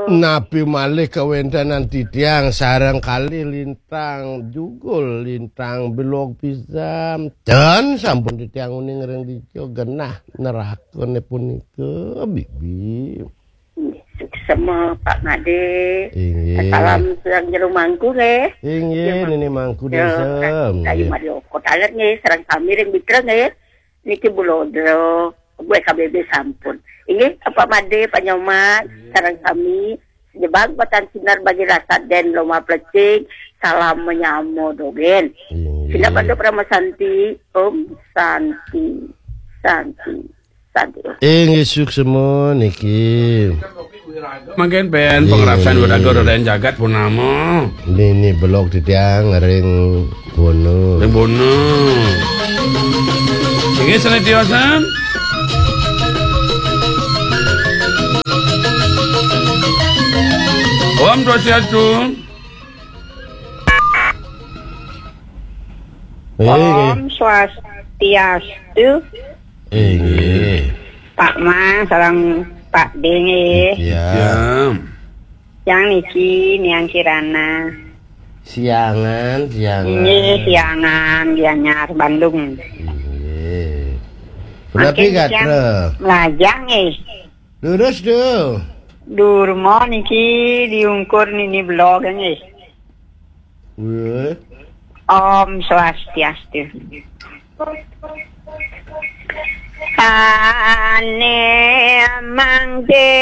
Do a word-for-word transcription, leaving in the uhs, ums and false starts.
Napi malih kawéntenan titiang sareng kalih lintang jugul, lintang belog pisan. Dan sampun titiang uning ring dija genah nerakané punika, Bibi. Suksma, Pak Madé. Inggih. Salam sareng jero mangku, nggih. Inggih, Nini Mangku Désa, Kayu nggih. Madé Okot alit, nggih, sareng sami ring Bitra, nggih. Niki Bulodro, gue K B B sampun. Inggih, Pak Madé, Pak Nyoman, sareng sami, jebag batan sinar bagi rasa den loma plecing, salam menyamo dogén. Inggih. Sina pada Parama Santi, Om Santi, Santi, Santi. Inggih, suksma niki. Mangkin ben Inggih. Pangrasaan Wiraga Raden Jagat Purnama. Nini belog titiang ring Bono. Ring Bono. Inggih, sané tiosan. Om Swastiastu. Inggih. Om Swastiastu. Inggih. Pak Mas sareng Pak Dé, nggih. Iya. Iya. Yang niki Niang Kirana. Siangan, siangan. Inggih, siangan, Gianyar, Bandung. Inggih. Punapi gatra? Melajang, nggih. Lurus, Du. Durma niki diungkur nini belog, nggih. Wéh. Om Swastiastu. Ané mangke